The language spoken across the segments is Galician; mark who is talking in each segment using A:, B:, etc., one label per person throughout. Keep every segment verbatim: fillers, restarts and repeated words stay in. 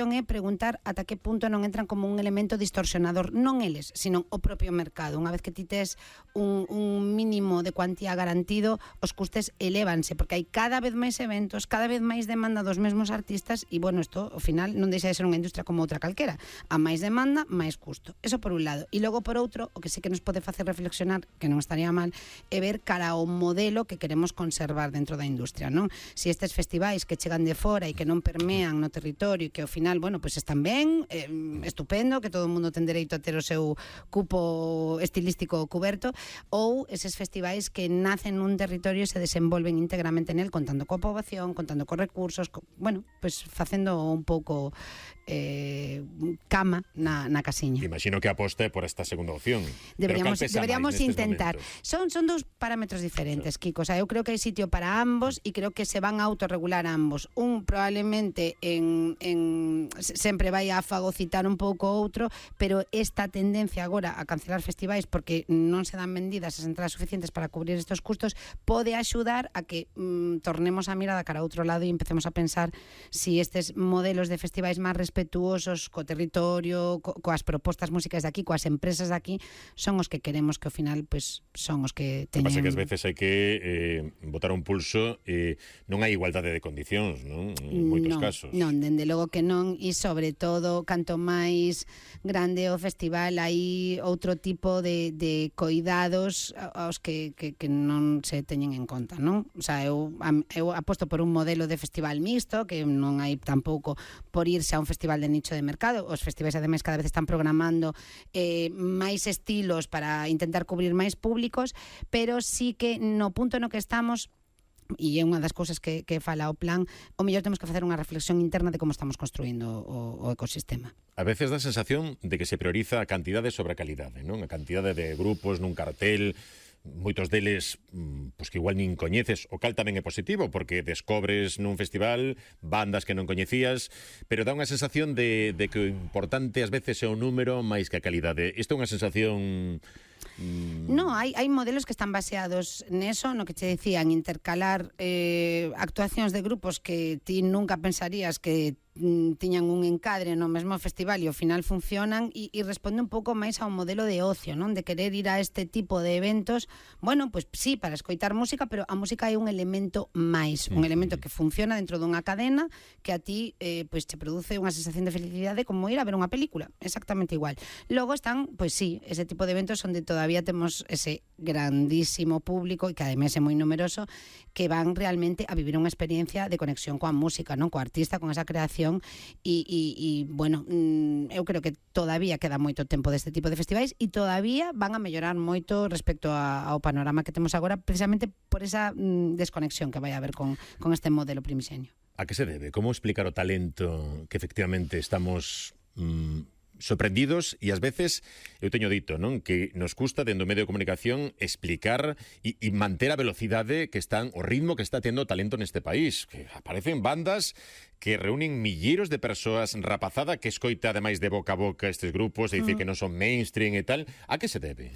A: é preguntar ata que punto non entran como un elemento distorsionador, non eles, sino o propio mercado. Unha vez que ti tes un, un mínimo de cuantía garantido, os custes elévanse, porque hai cada vez máis eventos, cada vez máis demanda dos mesmos artistas, e, bueno, isto, ao final, non deixa de ser unha industria como outra calquera. A máis demanda, máis custo. Eso por un lado. E logo, por outro, o que sí que nos pode facer reflexionar, que non estaría mal, é ver cara ao modelo que queremos conservar dentro da industria, non? Si estes festivais que chegan de fora e que non permean no territorio e que ao final bueno, pois pues están ben, eh, estupendo, que todo o mundo ten dereito a ter o seu cupo estilístico cuberto, ou eses festivais que nacen nun territorio e se desenvolven íntegramente nel, contando coa poboación, contando cos recursos, co, bueno, pois pues facendo un pouco eh, cama na, na casiña.
B: Imagino que aposte por esta segunda opción.
A: Deberíamos, deberíamos intentar. Son, son dous parámetros diferentes, sí. Kiko. O sea, eu creo que hai sitio para ambos e creo que se van a autorregular ambos. Un probablemente en, en sempre vai a fagocitar un pouco outro, pero esta tendencia agora a cancelar festivais porque non se dan vendidas as entradas suficientes para cubrir estes custos pode axudar a que mm, tornemos a mirada cara a outro lado e empecemos a pensar si estes modelos de festivais máis respetuosos co territorio, co, coas propostas músicas de aquí, coas empresas de aquí, son os que queremos que ao final pues, son os que teñen...
B: Pasa que ás veces hai que eh, botar un pulso e eh, non hai igualdade de condicións, non? En moitos
A: non,
B: casos.
A: Non, dende logo que non, e sobre todo, canto máis grande o festival, hai outro tipo de, de coidados aos que, que, que non se teñen en conta, non? O sea, eu, eu aposto por un modelo de festival mixto, que non hai tampouco por irse a un festival de nicho de mercado. Os festivais, ademais, cada vez están programando eh, máis estilos para intentar cubrir máis públicos, pero sí que no punto no que estamos, e é unha das cousas que, que fala o plan, o mellor temos que facer unha reflexión interna de como estamos construindo o, o ecosistema.
B: A veces dá a sensación de que se prioriza a cantidade sobre a calidade, non? A cantidade de grupos nun cartel, moitos deles pois que igual nin coñeces, o cal tamén é positivo porque descobres nun festival bandas que non coñecías, pero dá unha sensación de, de que o importante ás veces é o número máis que a calidade. Isto é unha sensación...
A: No, hai, hai modelos que están baseados neso, no que che decían, intercalar eh, actuacións de grupos que ti nunca pensarías que tiñan un encadre no mesmo festival e ao final funcionan, e, e responde un pouco máis a un modelo de ocio, non? De querer ir a este tipo de eventos, bueno, pois pues, sí, para escoitar música, pero a música é un elemento máis, un elemento que funciona dentro dunha cadena que a ti eh, pois pues, te produce unha sensación de felicidade como ir a ver unha película, exactamente igual. Logo están, pois pues, sí, ese tipo de eventos onde todavía temos ese grandísimo público e que ademais é moi numeroso, que van realmente a vivir unha experiencia de conexión coa música, non? Coa artista, con esa creación. E, e, e bueno, eu creo que todavía queda moito tempo deste tipo de festivais e todavía van a mellorar moito respecto a, ao panorama que temos agora, precisamente por esa mm, desconexión que vai haber con, con este modelo primisenio.
B: A que se debe? Como explicar o talento que efectivamente estamos... Mm, sorprendidos e ás veces, eu teño dito, non, que nos custa dentro do medio de comunicación explicar e, e manter a velocidade que están, o ritmo que está tendo o talento neste país, que aparecen bandas que reúnen milleiros de persoas, rapazada que escoita ademais de boca a boca estes grupos, e dicir mm. que non son mainstream e tal. A que se debe?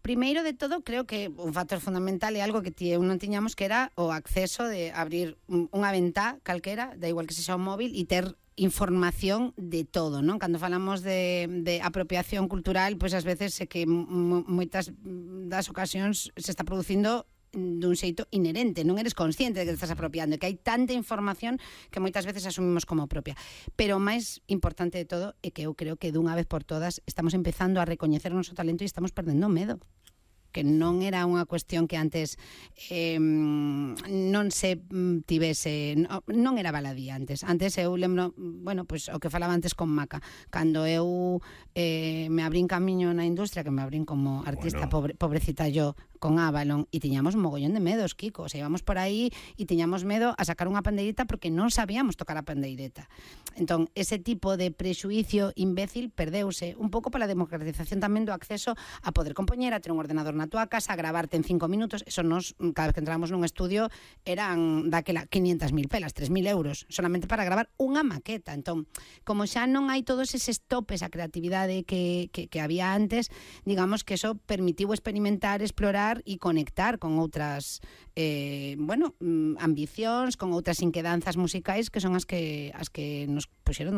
A: Primeiro de todo, creo que un factor fundamental é algo que ti eu non tiñamos, que era o acceso de abrir unha ventá calquera, da igual que sexa un móvil, e ter información de todo, non? Cando falamos de, de apropiación cultural, pois ás veces é que moitas das ocasións se está producindo dun xeito inherente, non eres consciente de que te estás apropiando, que hai tanta información que moitas veces asumimos como propia. Pero o máis importante de todo é que eu creo que dunha vez por todas estamos empezando a recoñecer o noso talento e estamos perdendo medo, que non era unha cuestión que antes eh, non se tivese, non, non era baladí antes. Antes eu lembro, bueno, pois o que falaba antes con Maca, cando eu eh, me abrín camiño na industria, que me abrín como artista, bueno. pobre, pobrecita yo, con Avalon, e tiñamos mogollón de medos, Kiko, o sea, íbamos por aí e tiñamos medo a sacar unha pandeireta porque non sabíamos tocar a pandeireta. Entón, ese tipo de prexuicio imbécil perdeuse un pouco pola democratización tamén do acceso a poder compoñer, a ter un ordenador na túa casa, a gravarte en cinco minutos. Eso nos, cada vez que entramos nun estudio eran daquela quinientas mil pelas, tres mil euros solamente para gravar unha maqueta. Entón, como xa non hai todos eses topes a creatividade que, que, que había antes, digamos que eso permitiu experimentar, explorar explorar e conectar con outras eh, bueno, ambicións, con outras inquedanzas musicais que son as que as que nos puxeron